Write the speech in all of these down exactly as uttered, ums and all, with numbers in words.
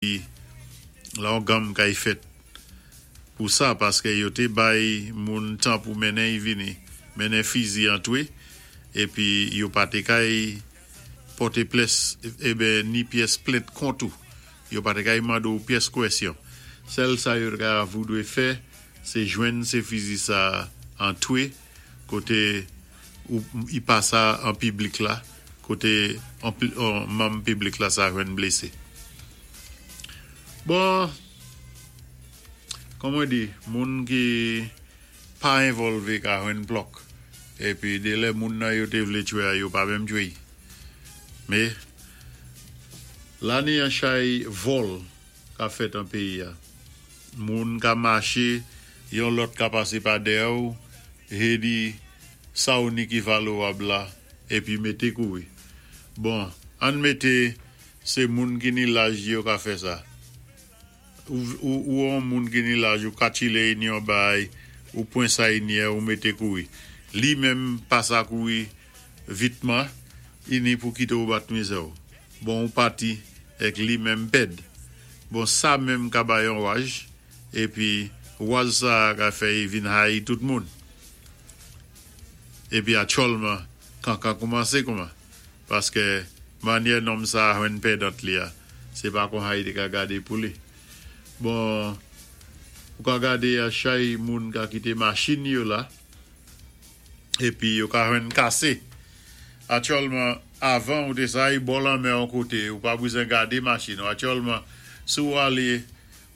La yon gam kay fèt pou sa, paské yo té bay moun tan pou mennen y vini, mennen fizi antwé, épi yo pa té kay pòté plès, eben ni pyès plent kont ou. Yo pa té kay mando ou pyès kwèsyon. Sèl sa yo ka voudwé fè, sé jwenn sé fizi sa antwé, koté ou i pa sa an piblik la, koté an, an manm piblik la sa jwenn blésé. Bon, kòm mwen di, moun ki pa envòlvé ka jwenn plòk. Épi dé lè moun nan yo té vlé tchwé a, yo pa menm tchwé. Mé, la ni an chay vòl ka fèt an péyi a. Moun ka maché, yon lòt ka pasé pa dèyè ou, é di sa ou ni ki valwab la, épi mété kouri. Bon, ann mété sé moun ki ni laj yo ka fè sa. Ou, ou, ou an moun ki ni laj ou katchilé ni yon bay, ou pwan sa y ni ou mété kouri. Li menm pa sa kouri vitman, i ni pou kité ou bat mizè ou. Bon, ou pati, èk li menm pèd. Bon, sa menm ka bay yon waj, épi waj sa ka fè y vin hayi tout moun. Épi aktyèlman, kankan koumansé kouman. Paské manyè nonm sa jwenn pèdant li a, sé pa kon hayi té ka gadé pou li. Bon, ou ka gadé a chay moun ka kité machin yo la, épi yo ka jwenn kasé. Aktyèlman, avan ou té sa y bò lanmè an koté, ou pa bezwen gadé machin. Aktyèlman, sou alé,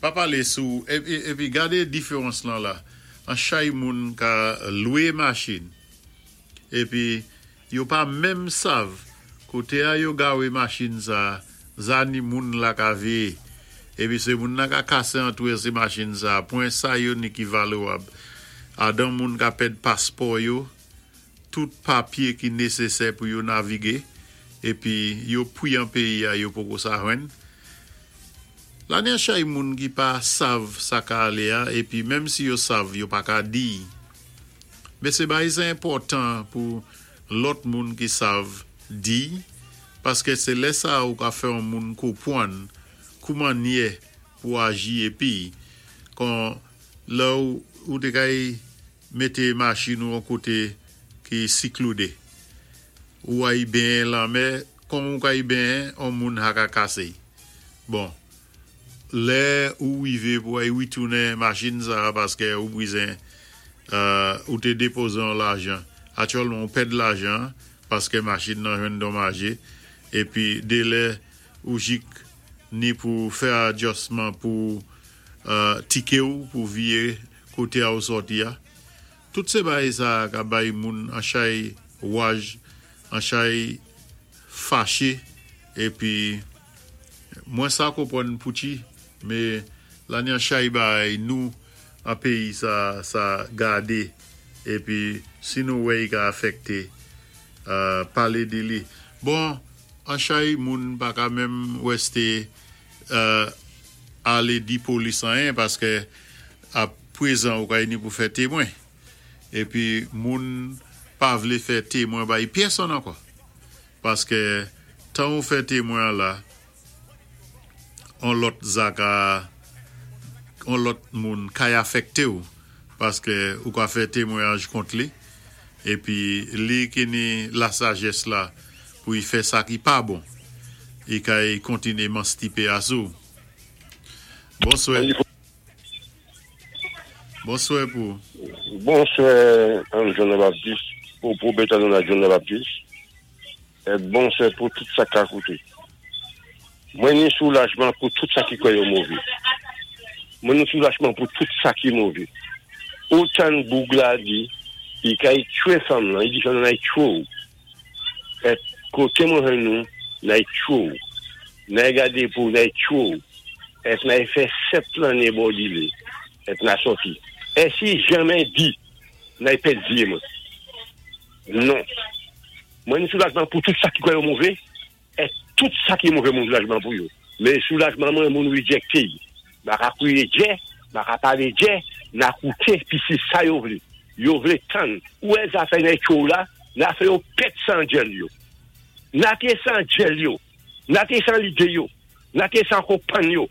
pa palé sou, épi, épi gadé diféwans lan la. An chay moun ka lwé machin, épi yo pa menm sav, koté a yo gawé machin sa, zani moun la ka véyé. Épi sé moun nan ka kasé antwé sé machin sa, pwan sa yo ni ki valwab. Adan moun ka pèd paspò yo, tout papyé ki nésésè pou yo navigé, épi yo pwi an péyi a yo poko sa jwenn. La ni an chay moun ki pa sav sa ka alé a, épi menm si yo sav, yo pa ka di. Mé sé bay sé enpòtan pou lòt moun ki sav di, paské sé lè sa ou ka fè an moun konpwann kouman nyè pou aji épi kon lè ou, ou té kay mété machin ou an koté ki sikloudé. Ou ay benyen lanmè, kon ou kay benyen, an moun ha ka kasé. Bon, lè ou wivé pou ay witounen machin sa paské ou bwizen euh, ou té dépozé an lajan. Aktyèlman ou pèd lajan paské machin nan jwenn donmajé épi dé lè ou jik ni pou fè adjustman pou euh, tiké ou pou viyé koté a ou sòti a. Tout sé bay sa ka bay moun an chay waj, an chay faché épi mwen sa konpwann pouti, mé la ni an chay bay nou an péyi sa sa gadé épi si nou wè i ka afekté euh, palé di li. Bon, an chay moun pa ka menm wèsté euh, alé di polis anyen paské a pwézan ou kay ni pou fè témwen. Épi moun pa vlé fè témwen bay pèsonn ankò. Paské tan ou fè témwen la, on lòt zaka, on lòt moun kay afekté ou, paské ou ka fè témwenyaj kont li, épi li ki ni la sajès la pou y fè sa ki pa bon, i kay kontiné manstipé asou. Bonswè. Bonswè pou. Bonswè, John Baptiste, pou pou Betanou la John Baptiste. É bonswè pou tout sa ka kouté. Mwen ni soulajman pou tout sa ki kwè yo mové. Mwen ni soulajman pou tout sa ki mové. Otan boug la di, i kay tchwé fanm lan, i di fanm nan tchwé ou. É koté mwen jwenn nou, nay tchwé ou. Nay gadé pou nay tchwé ou. É nay fè sèt lanné bò dilé. É na sòti. É si janmè di, nay pèd zyé mwen. Non. Mwen ni soulajman pou tout sa ki kwè yo mové, é tout sa ki mové moun soulajman pou yo. Mé soulajman mwen moun rejecté. Ma ka kwiyé djè, ma ka palé djè, na kouté pi si sa yo vlé. Yo vlé tann. Ou è zafè nay tchou la, na fè yo pèt san djèl yo. Na té san djèl yo. Na té san lidé yo. La té sa ankò pann yo.